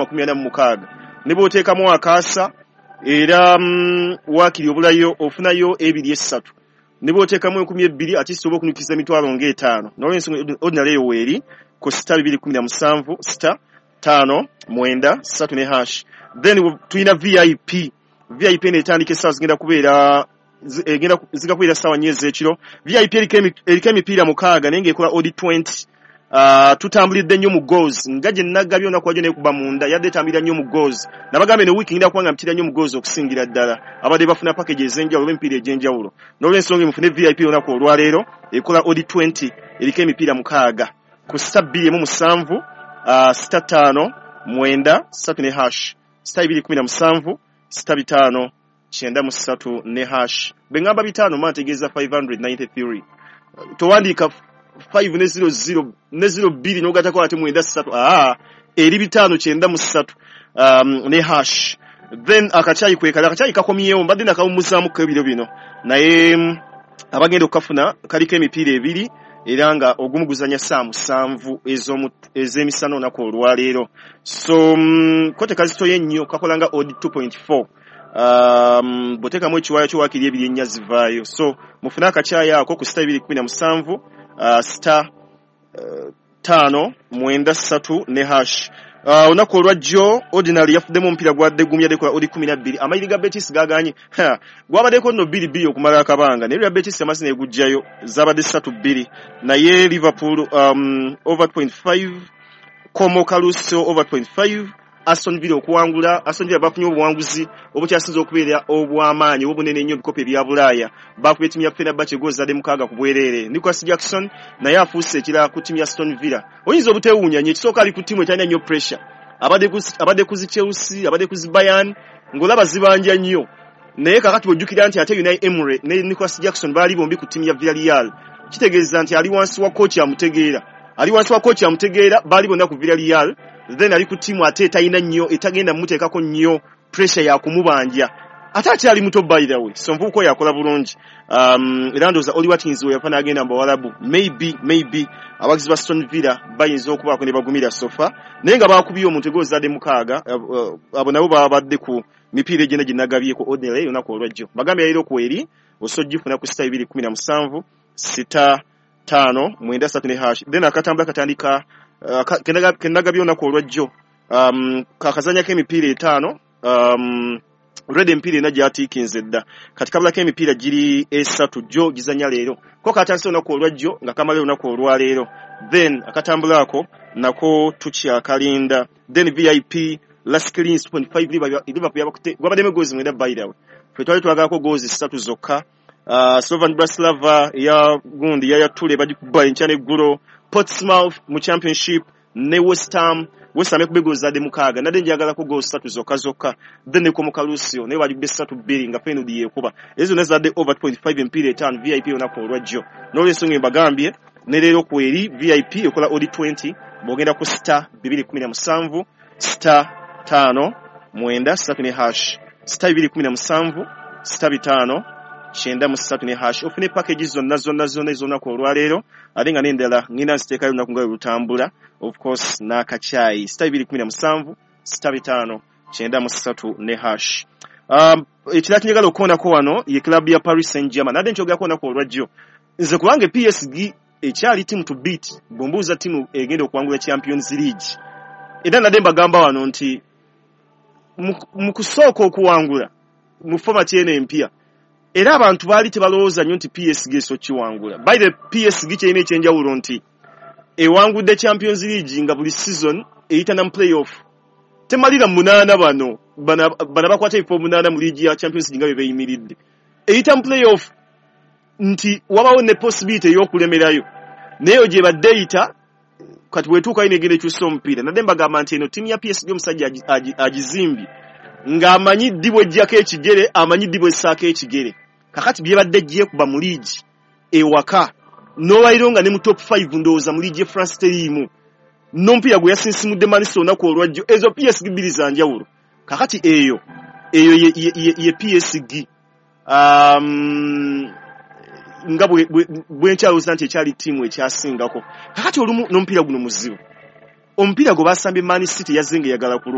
46 ne bw'oteekamu akaasa era waakiri obulayo ofunayo ebiri esatu ne bw'oteekamu 2000 ate kisobola okunukiza emitwalo ng'etaano. N'olwensonga ordinary eyo weeri ku star 217 star 5 9 3 ne hash. Then tulina VIP. VIP eno etandika essaawa zigenda kubeera egenda ziga kubeera ssaawa 4 ez'ekiro. VIP eriko emipiira 6 naye ng'ekola odd 20. Tutambulidde nnyo mu goals nga gye nagabye olunaku lwajjo nekuba munda yadde etambulira nnyo mu goals. Nabagambye ne wiiki ngenda kuba nga mpitira nnyo mu goals okusingira ddala abadde bafuna package ez'enjawulo oba emipiira egy'enjawulo. N'olwensonga mufune VIP olunaku olwaleero ekola odd 20 eriko emipiira 6 ku star 217 star 5 9 3 ne hash star 217 star 5 93 ne hash. Bwe ngamba 5 mba ntegeeza 593. Towandiika 5 ne 00 ne 02 n'ogattako ate 93, eri 5 93 ne hash. Then akacyayi kwekala akacyayi kakomyewo mbadde nakawummuzaamuko ebiro bino naye abagenda okukafuna kaliko emipiira ebiri era nga ogumu guzannya ssaawa 7 ez'emisana olunaku olwaleero. So ko tekazitoye nnyo kakola nga odd 2.4. Bw'oteekamu ekiwaayo kyo waakiri ebiri ennya zivaayo. So mufune akacyayi ako ku star 217 star 5 9 3 ne hash. Olunaku olwajjo ordinary yafuddemu omupiira gwadde gumya dekola odd 12. Amayiri ga Betis gaganye gwabaddeko nno 2-2 okumala akabanga naye Real Betis amazzi negujjayo zabadde 3-2 naye Liverpool over 0.5, Como Caruso over 0.5, Aston Villa okuwangula. Aston Villa bafunye obuwanguzi obukyasinze okubeera obw'amaanyi obunene ennyo ebikopo ebya Bulaaya. Bakubye ttiimu ya Fenerbahce goal zadde 6 ku bwereere. Nicolas Jackson naye afuuse ekirala ku ttiimu ya Aston Villa. Oyinza obuteewuunya nnyo, ekisooka ali ku ttiimu etalina nnyo pressure. Abadde ku zi Chelsea, abadde ku zi Bayern, ng'olaba zibanja nnyo. Naye kaakati bw'ojjukira nti ate Unai Emery ne Nicolas Jackson baali bombi ku ttiimu ya Villarreal, kitegeeza nti ali wansi wa kochi amutegeera. Ali wansi wa kochi amutegeera, baali bonna ku Villarreal. Then ali ku ttiimu ate etalina nnyo, etagenda mmuteekako nnyo pressure ya kumubanja. Ate akyali muto by the way, so nvubuka oyo akola bulungi. Era ndowooza Oli Watkins we yafa n'agenda mu Bawalabu, maybe abagizi ba Aston Villa bayinza okubaako ne bagumira sofa naye nga baakubye omuntu goal zadde 6. Abo nabo babadde ku mipiira egyenda gye nagabyeko ordinary olunaku olwajjo. Bagambye yaliro kweri osobola ogifuna ku star 217 star 5 9 3 ne hash. Then akatambula katandika kenagabye olunaku olwajjo kakazannyako emipiira 5. Already emipiira ena gyatiikinze dda kati kabulako emipiira giri 3 gyo gizannya leero. Ko katandise olunaku olwajjo nga kamala olunaku olwaleero. Then akatambula ako nako tukyakalinda. Then VIP Las Clins 2.5 Liverpool yabakute gwabaddemu goals 9 by the way. Ffe twali twagalako goals 3 zokka. Slovan Bratislava ya gundi ya Tule bagikuba enkya n'eggulo. Portsmouth mu Championship ne West Ham. West Ham ekubye goals zadde 6 nadde njagalako goals 3 zokka zokka. Then ne Como Caruso naye bagikubye 3-2 nga Feyenoord yeekuba. Ezo zonna zadde over 2.5 emipiira 5 VIP olunaku olwajjo. N'olwensonga mbagambye ne leero kweri VIP ekola odd 20 bw'ogenda ku star 217 star 5 9 3 ne hash star 217 star 5 93 ne hash. Ofune package zonna zonna zonna ez'olunaku olwaleero ate nga n'endala ngenda nziteekayo olunaku nga lwe lutambula of course n'akacyayi star 217 star 5 93 ne hash. Ekirala kinjagala okukoonako wano ye club ya Paris Saint-Germain. Nadde nkyogerako olunaku olwajjo nze kubanga PSG ekyali team to beat bw'ombuuza ttiimu egenda okuwangula Champions League. Era nadde mbagamba wano nti mu kusooka okuwangula mu format eno empya era abantu baali tebalowooza nnyo nti PSG eso kiwangula. By the PSG kyerina ekyenjawulo nti ewangudde Champions League nga buli season eyita na mu playoff. Temalira 8 bano bana bakwata ebifo 8 mu liigi ya Champions League nga bye beeyimiridde. Eyita mu playoff nti wabawo ne possibility ey'okulemerayo naye eyo gyebadde eyita kati bw'etuukayo n'egenda ekyusa omupiira. Nadde mbagamba nti eno ttiimu ya PSG omusajja agizimbye ng'amanyi ddi bw'eggyako ekigere, amanyi ddi bw'essaako ekigere. Kakati byebadde gyekuba mu liigi ewaka n'olwaliro nga ne mu top 5 ndowooza mu liigi ye France teriimu n'omupiira gwe yasinsimudde Man City olunaku olwajjo. Ezo PSG bbiri za njawulo. Kakati eyo ye PSG nga bwe nkyalowooza nti ekyali ttiimu ekyasingako. Kakati olumu n'omupiira guno muzibu. Omupiira gwe basambye Man City yazze ng'eyagala kulumba.